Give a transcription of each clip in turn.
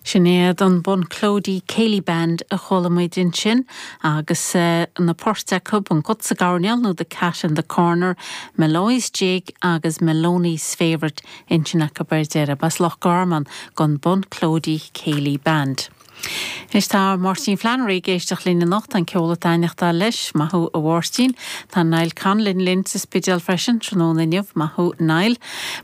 Sin iad an Bunclody Céilí Band a chuala muid ansin agus na poirt acu, An Cat sa gCoirnéal nó The Cat in the Corner, Molloy's Jig agus Maloney's Favourite ansin acu ar deireadh. B'as Loch Garman don Bunclody Céilí Band. Anois tá Máirtín Flannery ag éisteacht linn anocht, tá an ceol ag taitneachtáil leis. Maith thú a Mháirtín. Tá Niall Conlon linn sa Spidéal freisin tráthnóna inniu. Maith thú Niall.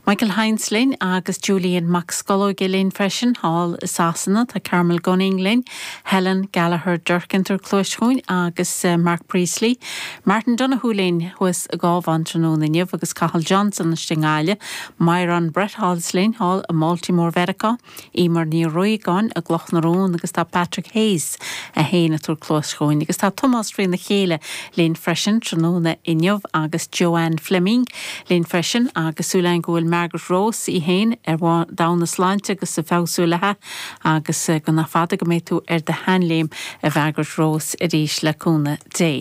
Michael Hynes linn agus Julian Mac Scolóige linn freisin thall i Sasana. Tá Carmel Gunning linn, Helen Gallagher Durkin ag tabhairt cluais chugainn agus Mark Priestley. Martin Donoghue linn thuas i gCábhán tráthnóna inniu agus Cathal Johnson istigh i nGaillimh. Myron Bretholz linn thall i mBaltimore Mheiriceá. Emer Ní Riagáin i gCloch na Rón agus tá Patrick Hayes é féin ag tabhairt cluas chugainn agus tá Tomás Trína Chéile linn freisin tráthnóna inniu agus Joanne Fleming linn freisin agus súil againn go bhfuil Margaret Rose í féin ar domhan na sláinte agus ag feabhsú léi agus go nach fada go mbeidh tú ar do sheanléim a Mhargaret Rose arís le cúnamh Dé.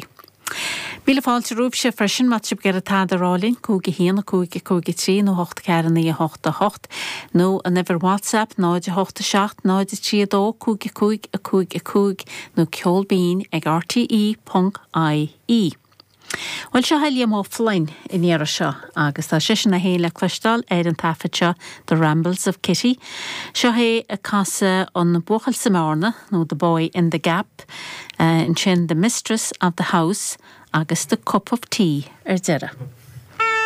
Míle fáilte romhaibhse freisin má tá sibh ag iarraidh tada a rá linn, 5 1 5 5 3 nó 8 4 9 8 8, nó an uimhir WhatsApp 0 8 7 0 3 2 5 5 5 5 nó ceol binn ag rte ponc ie. Bhuel seo é Liam Ó Floinn an iarraidh seo agus tá seisean é féin le cloisteáil ar an taifead seo The Rambles of Kitty. Seo é ag casadh An Buachaill sa mBearna nó The Boy in the Gap. Ansin The Mistress of the House agus The Cup of Tea ar deireadh.